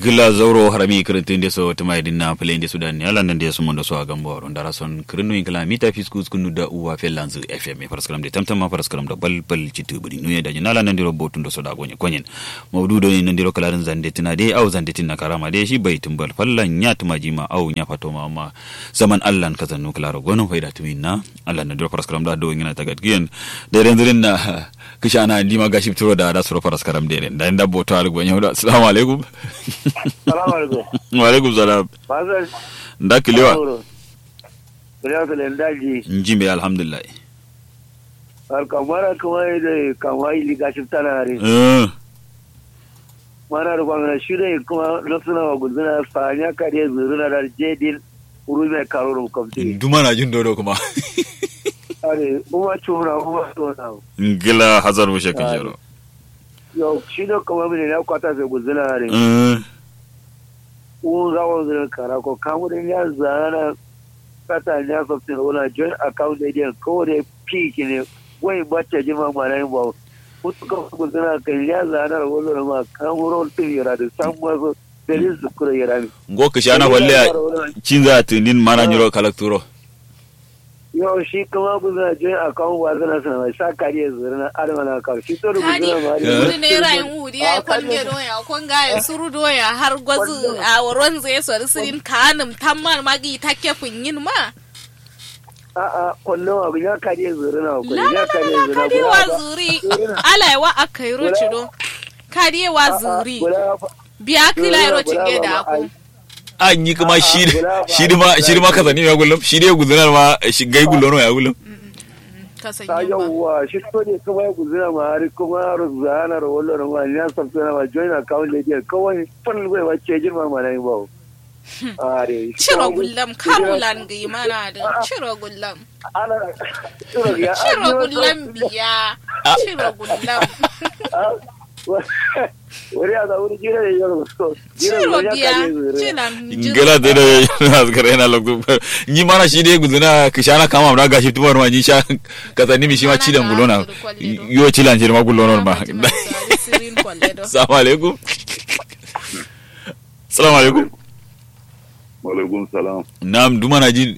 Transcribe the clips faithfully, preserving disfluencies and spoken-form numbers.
Gla zauro harami kǝrǝntǝ nde so tǝma ye dǝnna fǝle nde sudan ne ala nande sumondo so a gambo aro ndara son kǝrǝnno yin kǝla mita fisku skunu da uwa fellanzǝ. Fm faraskaram de tamtamma faraskaram do balbal citǝ bǝri nuye daji nala nandiro botundo so da gonye konyen. Maudu done nandiro kǝladǝn zande tǝna de au zande tǝnna karama de shi bai tǝmbal falla nya tǝmajima au nya fatoma amma zaman allan kazannu kǝlaro gono faida tǝminna. Allan nandiro faraskaram da do ngina tagat giyen. Dai dai nzǝrin na. Kǝshana ndima gaship turo da da suro faraskaram dai dai nda boto aluk banyau da assalamu alaikum. Salamu alaikum. Wa alaikum salam. Nda kǝlewa. Kǝlewa kǝlewa nda ji. Nji mbe alhamdulillah. Har kamara kuma yi dai kama yi liga ship tana hari. Mana da kwangana shi dai kuma nafsuna wa gulzuna sanya kariye zuruna da jedin. Uru mai karo rum kamti. Duma na jin dodo kuma. Are uma cuna uma cuna. Ngila hazar bushe kishiro. Yo shi do kuma mine na kwata sai gulzuna are. Un ga wanzu kara ko kamu da ya zana. Kata ya softin wala join account da idiyan kawai da fi kine. Wai bacce jima mana yin bawo. Mutu kawai gulzuna kan ya zana da wala ma kamu ron tun yara da samu wasu. Dalil zukuro yara mi. Ngo kǝshana falle ya. Cinza tǝndin mana nyiro kalakturo. Yo shi kuma guzuna join account wa zana sana mai sa kariye zurna adama na kar shi to guzuna ma. Kadi wuri ne rayin wuri ya kwalge doya konga ya suru doya har gwazu a waron zai sori sirin kanum tamman magi take funyin ma. A'a kwallo wa ya kariye zurna ko ya kariye zurna kadi wa zuri. Alai wa akairo cido. Kadi wa zuri. Biya kila iro cinge da ko. A nyi kǝma shi shidǝma shidǝma kasani miya gullum shidǝ ye guzǝna ma shi gai gullono ya gullum. Kasan yamma. Yawwa shi to ne kǝma ye guzǝna ma har kǝma ro zana ro wallo ro ma nya sabtana ma join account ne diya kawai fal bai ma cejin ma ma na yi bawo. Are ciro gullam kamulan gi mana da ciro gullam. Ana ciro ya ciro gullam biya. Ciro gullam. Wuri a zaɓi jira da yaro so. Ciro biya. Ngala da da yaro na zikara yana loktu. Nyi mana shi dai guzuna kǝshana kama na gashi tumar ma nyi sha. Kasa nimi shi ma cidan gulona. Yo cilan shi ma gulona ma. Salamu alaikum. Salamu alaikum. Wa alaikum salam. Nam duma na jin.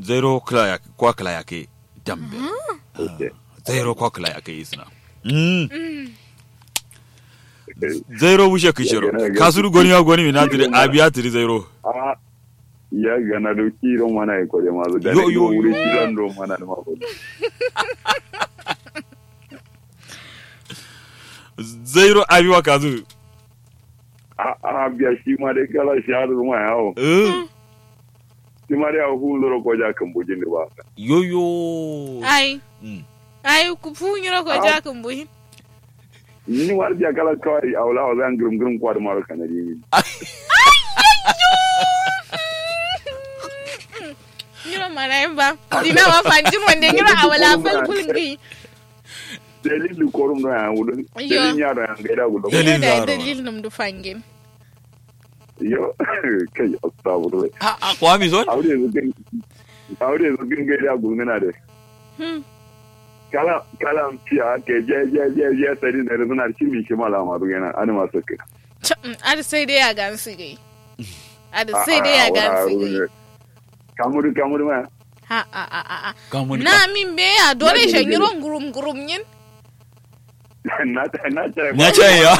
Zairo kla ya kwa kla ya ke dambe. Zairo kwa kla ya ke isna. Zairo wushe kishiro kasuru goni ya goni mina tiri abiya tiri zairo. Ya gana do kiro mana ya kore ma zo da yo yo yo. Wuri kiran do mana ma ko. Zairo abiwa kazu. A a biya shi ma dai kala shi har zuma yawo. Shi ma dai a hu zuro ko ja kan bujin da ba. Yoyo. Ai. Ai ku fu nyiro ko ja kan bujin. Ni war biya kala kawai a wala wala an gurum gurum kwad maro kanadi. Nyiro mana ba. Dina ma fanjin wande nyiro a wala fal kulngi. Dalil du korum no ya wulun. Dalil ya do ya gaida wulun. Dalil da dalil num du fangin. Yo kai astagfirullah. A a kwami son. Aure yanzu kin aure yanzu kin gaida wulun na da. Hmm. Kala kala tiya ke je je je je tari da suna cin mi shi malama du yana ani masu kai. Ar sai dai ya gan su gai. Ar sai dai ya gan su gai. Kamuri kamuri ma. Ha a a a a. Na min be ya dole shan yiro ngurum ngurum yin. Na ca ya.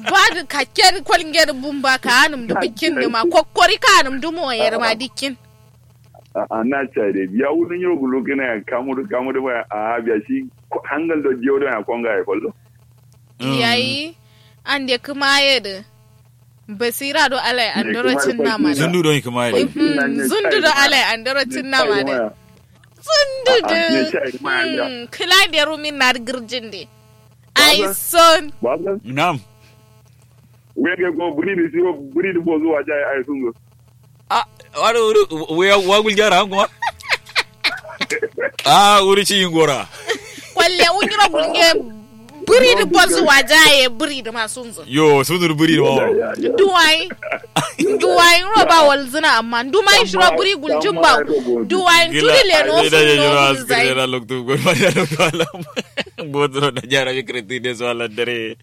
Ba da kakken kwalnge da bumba ka hanum da bikin da ma kokkori ka hanum da moyar ma dikkin. A na ca da biya wurin yiro gulo kina ya kamuri kamuri ma a biya shi hangal da jiyo da ya konga ya kwallo. Yayi an da kuma ya da. Basira do alai andoro cinna ma da. Zundu do kuma ya da. Zundu do alai andoro cinna ma da. Zundu do. Kila da rumin na girjin de. Ai son. Nam. Wege go buri di siwo buri di bozu waja ai sun go. A wado wuri waya wagul jara kuma. A wuri ci yingora. Kwalle wungira gulge. Buri di bozu waja ye buri di masunzo. Yo sundur buri di mawo. Duwai. Duwai ro ba walzina amma dumai shiro buri guljin ba. Duwai tudi le no sun no zai. Loktu go ma ya loktu alam. Gotoro da jara mi kǝrǝntǝ de so alandare.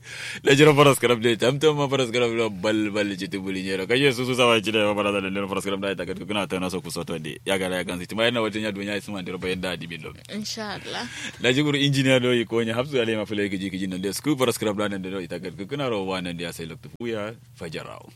Da jiro faras karam de tamtam ma faras karam do bal bal citi buli nyero kaje susu sawa cine ma faras karam de faras karam da ita kat kuna ta naso kusoto de ya gala ya gansi tima yana wata nya dunya isma ndiro bayan da dimin do. Inshallah. Da jiguru injiniya do yi konya hapsu ale ma fule kiji kiji nan de sku faras karam da nan de do ita kat kuna ro wa nan de ya sai loktu fuya fajarawo.